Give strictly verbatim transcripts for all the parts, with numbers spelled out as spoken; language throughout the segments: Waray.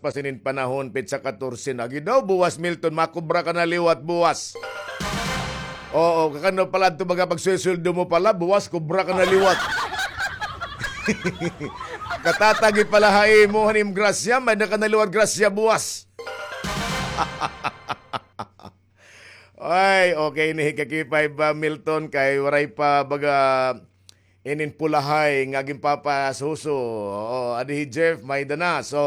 pa sinin panahon, petsa katorse na. Agi daw, buwas, Milton, makubra ka na liwat, buwas. Oo, kakano pala adto baga pagsuweldo mo pala, buwas, kubra ka na liwat. Katatagi pala ha imo, han im grasya, may-ada ka na liwat grasya, buwas. Ay, okay ni hi Kaki Five, ah, Milton, kay waray pa baga inin pulahay nga ginpapasuso. Oo, adi hi Jeff, may-ada na. So,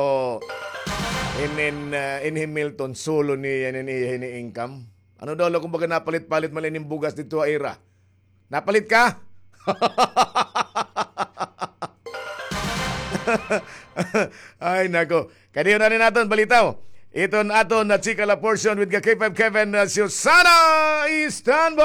inin, ah, in hi Milton, solo ni, inin, iya hini income. Ano daw, la, kumbaga napalit-palit man inin bugas didto ha ira. Napalit ka? Ay, nako. Kadiyon na ni naton balitaw. Iton aton na chika la portion with ka K five Kevin, uh, Susana. Standby!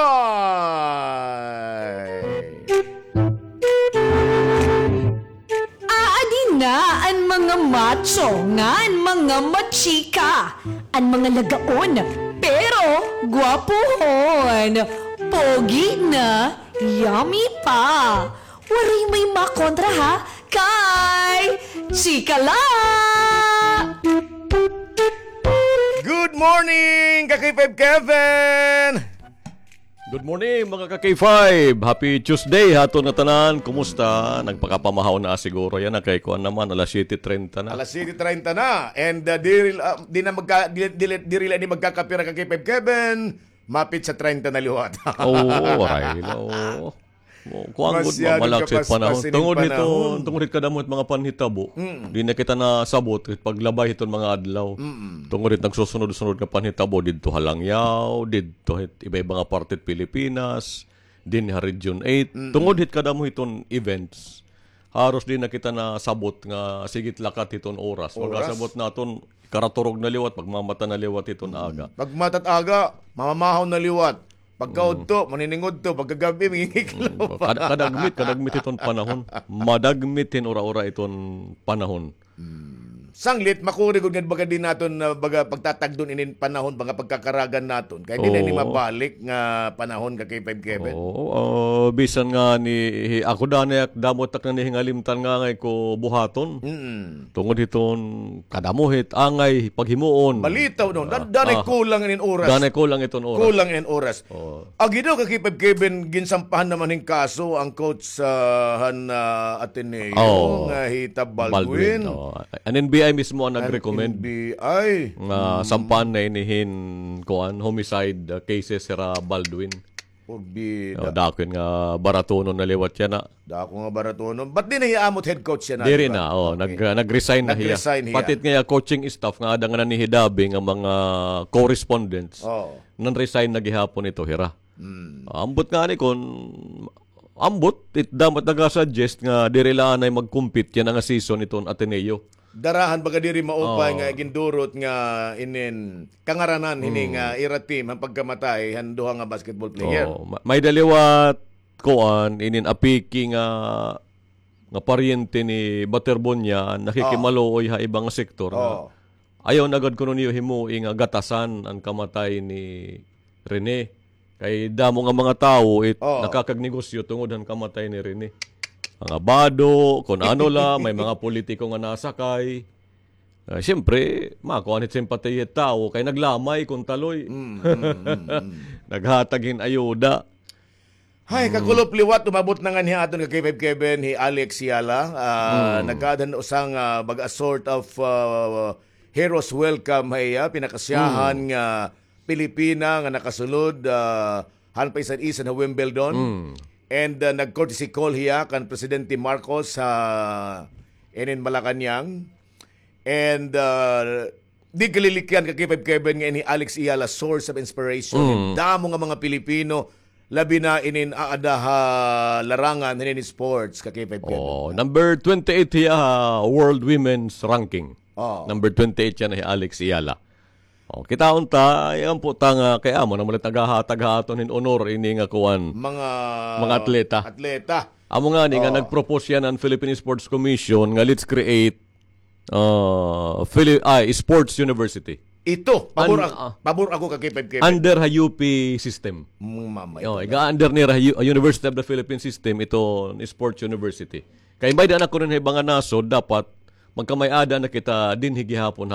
Aadi na an mga macho ngan mga machika, an mga lagaon, pero gwapohon, pogi na, yummy pa. Waray may makontra ha, kay chika la! Good morning, ka K five Kevin! Good morning, mga ka K five. Happy Tuesday ha aton ngatanan. Kumusta? Nagpakapamahaw na siguro yana kay kuan naman, alas siyete treinta na. Alas siyete treinta na. And, uh, diri, uh, di na magka-, di, di, diri la ini magkakapira ka K five Kevin. Mapit sa treinta na liwat. Oo, ay, oo. Kuan gud, mamalak sa panahon. Tungod hiton, tungod hit kadamo hit mga panhitabo. Di na kita nasabot hit paglabay hiton mga adlaw. Tungod hit nagsusunod-sunod nga panhitabo didto ha Langyaw, didto hit iba-iba nga parte hit Pilipinas, dinhi ha Region eight. Tungod hit kadamo hiton events. Haros di na kita nasabot nga sigit lakat hiton oras. Oras? Pag-asabot naton, karaturog na liwat, pagmamata na liwat hiton aga. Pagmata't aga, mamamahaw na liwat. Pagkaudto, maniningudto, pagkagab-i, mangingiklo pa. Kada-, kadagmit, kadagmit hiton panahon. Madagmit hin ura-ura iton panahon. Sanglit, makuri gud nga baga di naton, ah, baga pagtatagdon inin panahon, mga pagkakaragan naton. Kay di na ini mabalik nga panahon ka K five Kevin. Oo, ah, bisan ngani, hi-, ako danay ak-, damo it ak nanhihingalimtan nga angay ko buhaton. Tungod hiton kadamo hit angay paghimuon. Balitaw, no? Dan-, danay kulang inin oras. Danay kulang iton oras. Kulang inin oras. Oo. Agi daw ka K five Kevin, ginsampahan naman hin kaso an coach, ah, han, ah, Ateneo nga hi Tab Baldwin. Baldwin, oo. An N B I mismo an nag-recommend. N B I. Nga sampahan na ini hin, kuan, homicide, ah, cases hira Baldwin. Porbida. Oh, dako nga baratonon na liwat yana. Dako nga baratonon. But di na hiya amo it head coach yana, diri na, oh, nag-, nag-resign na hiya. Nag-resign hiya. Pati it nga iya coaching staff nga aada nga nanhihidabi nga mga correspondents, nan-resign na gihapon ito hira. Ambot ngani kon, ambot, it damo it nagasuggest nga diri la anay mag-compete yana nga season iton Ateneo. Dara han baga diri maupay nga gindurot nga inin kangaranan hini nga ira team han pagkamatay han duha nga basketball player. Oo, ma-, may-ada liwat kuan, inin apiki nga, nga paryente ni Baterbonia, nakikimaluoy ha iba nga sektor nga ayaw na gad kuno niyo himuon nga gatasan an kamatay ni Rene. Kay damo nga mga tawo it nakakagnegosyo tungod han kamatay ni Rene. Mga bado, kun ano la, may mga politiko nga nasakay. Ah, siyempre, makuan it simpatiya it tawo kay naglamay kon taloy. Naghatag hin ayuda. Hay, kakulop liwat, umabot na ngani ha aton ka K five Kevin, hi Alex Yala. Ah, nagkaada han usa nga, ah, baga sort of, ah, hero's welcome ha iya, pinakasyahan nga Pilipina nga nakasulod, ah, han paisan-isan ha Wimbledon. And, ah, nag-courtesy call hiya kan Presidente Marcos ha inin Malacañang. And, ah, di kalilikyan ka K five Kevin nga ini Alex Eala, source of inspiration. Damo nga mga Pilipino, labi na inin aada ha larangan hinin sports ka K five Kevin. Oh, number twenty-eight hiya ha World Women's Ranking. Oh. Number twenty-eight yana hi Alex Eala. Oh, kitaon ta, ay, ampo ta nga kay amo na man it naghahatag ha aton hin honor ini nga kuan. Mga, mga atleta. Atleta. Amo ngani nga nag-propose yana an Philippine Sports Commission nga let's create, ah, Phili-, ay, Sports University. Ito, pabor ak-, pabor ako ka K five Kevin. Under ha U P system. Iga-under nira ha U-, University of the Philippines system, ito, Sports University. Kay may-ada na kuno hin iba nga nasod, dapat magkamay-ada na kita dinhi gihapon ha